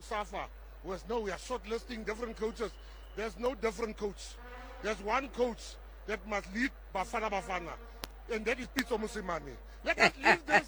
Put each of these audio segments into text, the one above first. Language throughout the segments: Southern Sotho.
SAFA was no, we are shortlisting different coaches. There's no different coach. There's one coach that must lead Bafana Bafana, and that is Pitso Mosimane. Let us leave this.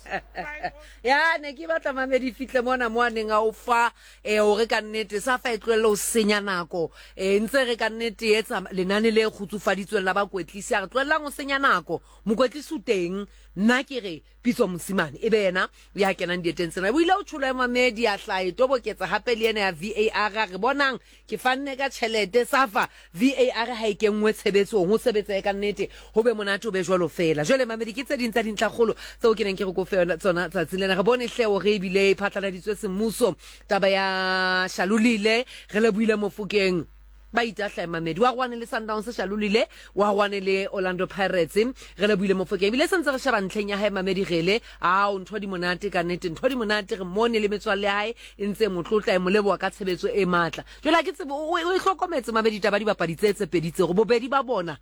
Ya ne ke batla mamedi fihle mona mo a neng a o fa eh hore ka nnete safa e tlohelle ho senya nako eh ntse re ka nnete e etsa lenane le kgutsufaditsweng la bakwetlisi a re tlohellang ho senya nako mokwetlisi o teng nna ke re Pitso Mosimane e be yena ya kenang dieteng tsena. O ile o tjholo ya mamedi a hlaha e toboketsa hape le ena ya VAR a re bonang ke fanne ka tjhelete safa VAR ha e kenngwe tshebetsong ho sebetsehe ka nnete ho be monate ho be jwalo feela. Jwale mamedi ke tse ding tsa dintlhakgolo tseo ke neng ke re ko fe tsona tsatsing lena. Re bone hle hore ebile e phatlaladitswe semmuso taba ya Shalulile re lebohile Mofokeng. Ba itahla Mamedi wa rwane le Sundowns Shalulile wa rwane le Orlando Pirates re lebohile Mofokeng ebile sentse re sheba ntlheng ya hae Mamedi Gele ao ntho di monate ka nnete ntho di monate re mone le metswalle ya hae e ntse e mo tlotla e mo leboha ka tshebetso e matla jwale ha ke tsebe o e hlokometse Mamedi taba dibapadi tse tse pedi tsego bobedi ba bona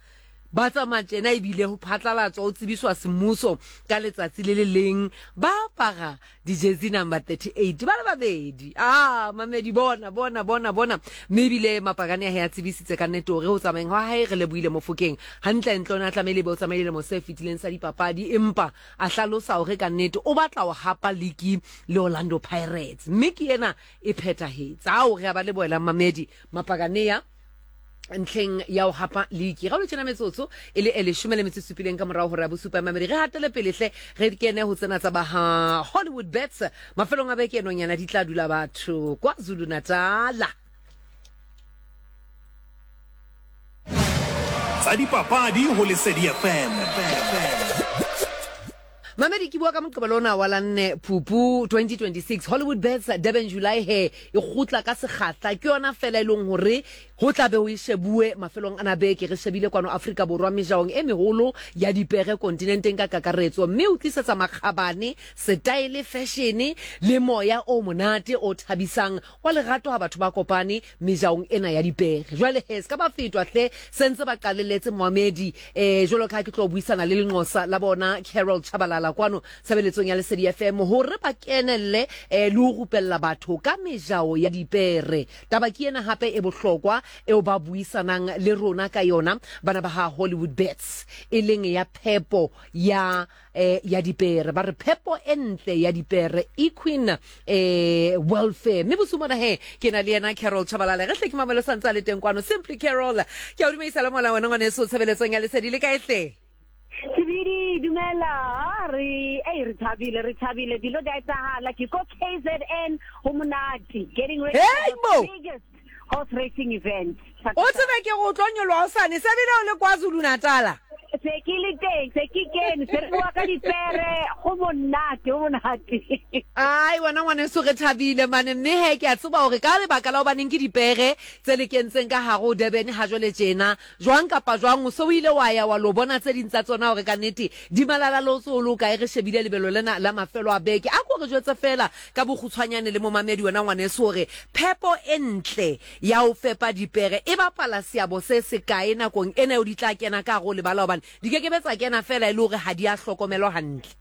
ba tsamaya tjena ebile ho phatlalatswa ho tsebiswa semmuso ka letsatsi le le leng ba apara Di-jersey number 38 ba le babedi. Ah, mamedi bona, bona, bona, bona. Mme ebile mapakane a hae a tsebisitse ka nnete hore ho tsamayeng hwa hae re lebohile Mofokeng. Hantle-ntle o ne a tlamehile ebe o tsamaile lemo se fetileng sa dipapadi empa a hlalosa hore ka nnete o batla ho hapa liki le Orlando Pirates. Mme ke ena e phethahetse. Ao, re a ba lebohela mamedi. Mapakanea ntlheng ya ho hapa liki ga o le tjena metsotso e le e leshome le metso e supileng ka morago gore ya bosupa mamedi re hatele pele hle re kene ho tsena tsa ba ha Hollywood Bets mafelong a beke enonyana di tla dula batho kwa Zulu Natala. Tsa dipapadi ho Lesedi FM. Mamedi ke bua ka Moqebelo ona wa la nne Phupu 2026 Hollywood Bets Durban July he e kgutla ka sekgahla ke yona fela e leng hore ho tla be ho e shebuwe mafelong ana beke re shebile kwano Afrika Borwa mejaong e meholo ya dipere kontinenteng ka kakaretso mme o tlisetsa makgabane setaele feshene le moya o monate o thabisang wa lerato ha batho ba kopane mejaong ena ya dipere. Jwale he, se ka ba fetwa hle, se ntse ba qalelletse moamedi. Eh, jwalo ka ha ke tlo buisana le lenqosa la bona Carol Chabalala kwano tshebeletsong ya Lesedi FM hore ba kenelle eh, le ho rupella batho ka mejao ya dipere. Taba ke ena hape e bohlokwa eo ba buisanang le rona ka yona bana ba ha Hollywood Bets e leng ya phepo ya eh, ya dipere ba re phepo e ntle ya dipere equine eh, welfare mme bosiu mona he ke na le yena Carol Chabalala re hle ke mamelo santse a le teng kwano Simply Carol ke a o dumedisa le mola wena ngwaneso tshebeletsong ya lesedi le kae hle? Sebidi dumela re ei re thabile re thabile dilo di a etsahala ke ko KZN ho monate getting ready Hey, for bo! the biggest horse racing event. O tsebe ke go tlo nyoloha hosane se bile o le KwaZulu Natala. Se ke le teng, se ke kene, se re bua ka dipere, go monate, go monate. Ai wena ngwaneso re thabile mane mme he ke a tseba hore ka lebaka la hobaneng ke dipere tse le kentseng ka hare ho Durban ha jwale tjena jwang kapa jwang o se o ile wa ya wa lo bona tse ding tsa tsona hore ka nnete di malalalaotse o le o kae re shebile lebelo lena la mafelo a beke. A ko re jwetse feela ka bokgutshwanyane le momamedi wena ngwaneso hore phepo e ntle ya ho fepa dipere e bapala seabo se sekae nakong ena eo di tla kena ka hare ho lebala hobane di ke ke be tsa kena feela e le hore ha di a hlokomelwa hantle.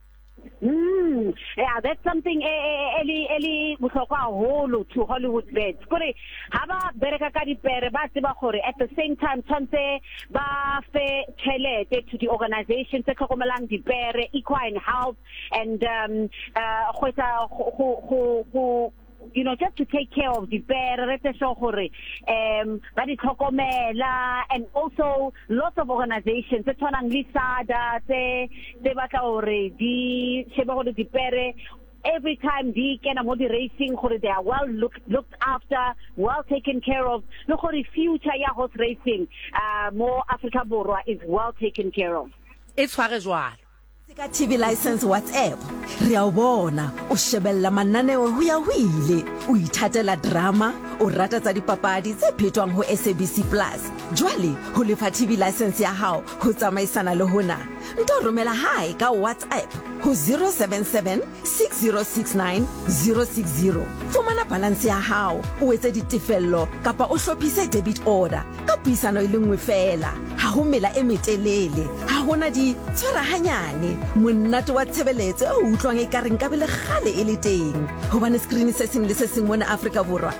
Yeah, that's something e e e le e le bohlokwa haholo to Hollywood Bets. Kore ha ba bereka ka dipere ba tseba gore at the same time tshwantse ba fe tjhelete to the organization tse tlhokomelang dipere, equine health and um uh go etsa go go go you know just to take care of dipere re etse sure gore um ba di tlhokomela and also lots of organizations tse tshwanang le SADA tse tse batla gore di shebe gore dipere every time di kena mo di racing gore they are well looked, looked after well taken care of le gore future ya horse racing uh, mo Africa Borwa is well taken care of. E tshware jwalo. Ka TV license WhatsApp, re a o bona o shebella mananeo ho ya ho ile. O ithatela drama, o rata tsa dipapadi tse phetwang ho SABC Plus. Jwale ho lefa TV license ya hao ho tsamaisana le hona. Nto romela hae ka WhatsApp ho 077 6069 060. Fumana balance ya hao, o etse ditefello kapa o hlophise debit order ka puisano e le nngwe feela. Ha ho mela e metelele. Ha hona di tshwara hanyane. Monate wa tshebeletso e o utlwang ekare nkabe le kgale e le teng. Hobane screen se seng le se seng mona Afrika Borwa.